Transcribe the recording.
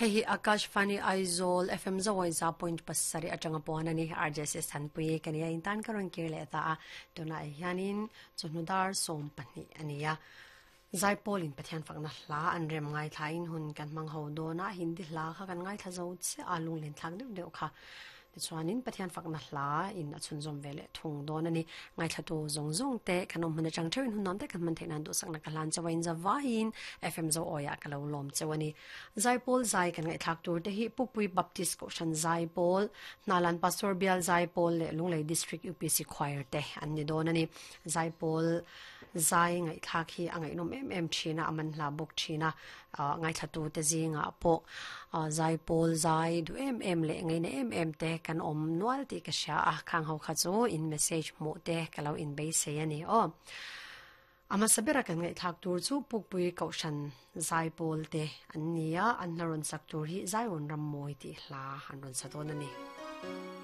Hei hi Akashvani Aizawl FM Zawai za point pasarih atanga puan a ni. RJS Thanpui ka nia in tan ka rawn kir leh ta a. Tunah hianin chawhnu dar 12 a ni a. Zaipawl in Pathian fakna hla an rem ngaithla in hun kan hmang ho dawn a, Hindi hla kha kan ngaithla zo chiah a, lunglen thlak deuh deuh kha. Tichuanin Pathian fakna hla in a chhunzawm ve leh thung dawn a ni. Ngaithlatu zawng zawng te kan awm hmun atang theuhin hun nuam tak kan hman theih nan duhsakna ka hlan chauh a, inzavaiin FM Zo Awiah ka lo lawm chauh a ni. Zaipawl zai kan ngaihthlak tur te hi Pukpui Baptist Kohhran Zaipawl, Hnalan Pastor Bial Zaipawl leh Lunglei District UPC Choir te an ni dawn a ni. Zaipawl zai ngaihthlak hi a ngaihnawm em em thin a, a manhla bawk thin a, ngaithlatu te zingah pawh zaipawl zai duh em em leh ngaina em em te kan awm nual tih ka hria a, khang ho kha chu in message hmuh te ka lo inbeisei a ni aw. A hmasa bera kan ngaihthlak tur chu Pukpui Kohhran zaipawl te an ni a, an hla rawn sak tur hi Zaiawn Rammawi tih hla an rawn sa dawn a ni.